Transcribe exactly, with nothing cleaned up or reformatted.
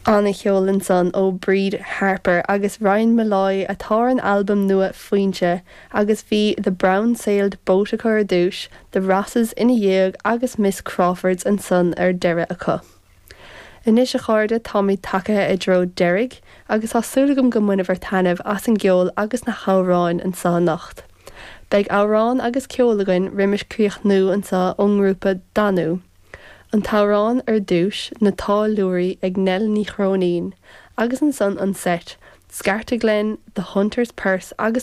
An-cheol ansan ó Bríd Harper agus Ryan Molloy atá ar an albam nua Foinse agus bhí The Brown Sailed Boat acu ar dtús, The Rosses ina dhiaidh agus Miss Crawfords ansan ar deireadh acu. Anois a chairde táimid tagtha i dtreo deiridh agus tá súil agam go mbainfidh sibh taitneamh as an gceol agus na hamhráin anseo anocht. Beidh amhrán agus ceol againn roimis críochnú anseo ón ngrúpa Danú. An t-amhrán ar dtús Na Táilliúirí ag Nell Ní Chróinín, agus ansan an set, Scartaglen, The Hunter's Purse agus The